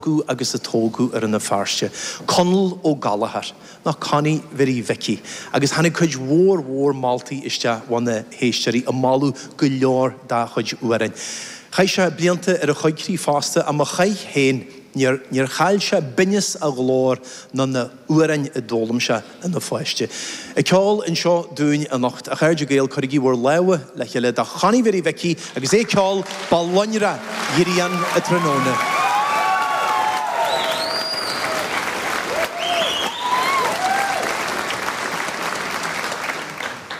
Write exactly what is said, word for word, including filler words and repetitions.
Rugadh agus a tógadh i Rann na Feirste, Conall Ó Gallchóir, nó Connie Mhary Mhicí, agus tháinig cuid mhór mhór moltaí isteach ó na héisteoirí ag moladh go leor dá chuid amhráin. Chaith sé blianta ar an choigcrích fosta, ach má chaith féin, níor, níor chaill sé binneas a ghlóir ná na hamhráin a d'fhoghlaim sé ina pháiste. Ag ceol anseo dúinn anocht, a chairde Gael, cuirigí bhur lámha le chéile do Chonnie Mhary Mhicí agus é ag ceol Ba Lonradh Ghrian a' Tráthnóna.